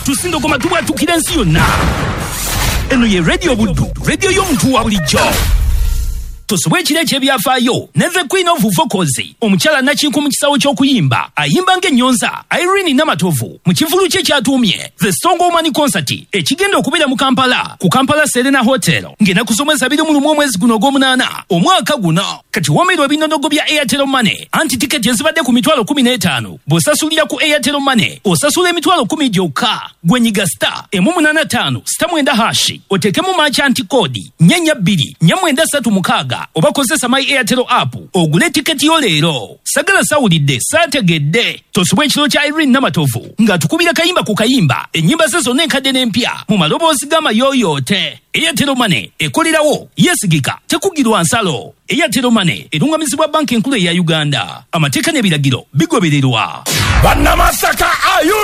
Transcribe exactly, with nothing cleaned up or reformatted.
Tusindogoma tubwatukira ensi yonna. Eno ye Radio Buddu, radio y'omuntu wa bulijjo. Tosubwa ekiro eky'ebyafaayo ne the Queen of Vocals, omukyala nakinku mu kisawo ky'okuyimba, ayimba ng'ennyonza, Irene Namatovu, mu kivvulu kye kyatuumye The Strong Woman Concert, ekigenda okubeera mu Kampala ku Kampala Serena Hotel ng'ennaku z'omwezi abiri mu lumu omwezi guno ogw'omunaana omwaka guno. Kati woomerwa ebinonogo bya Airtel Money, anti tiketi ezibadde ku mitwalo kumi n'etaano bw'osasulira ku Airtel Money osasula emitwalo kumi gyokka. Gwe nyiga star emu munaana ttaano star mwenda hash, oteekemu merchant code nnya nnya bbiri nnya mwenda ssatu mukaaga, oba kozesa My Airtel app ogule tiketi yo leero. Sagala sawulidde saategedde. Tosubwa ekiro kya Irene Namatovu ng'atukubira kayimba ku kayimba, ennyimba ze zonna enkadde n'empya mu maloboozi g'amayooyoote. Airtel Money ekolerawo, yeesigika, tekugirwa nsalo. Airtel Money erungamizibwa Banka Enkulu eya Uganda. Amateeka n'ebiragiro bigobererwa. Bannamasaka, are you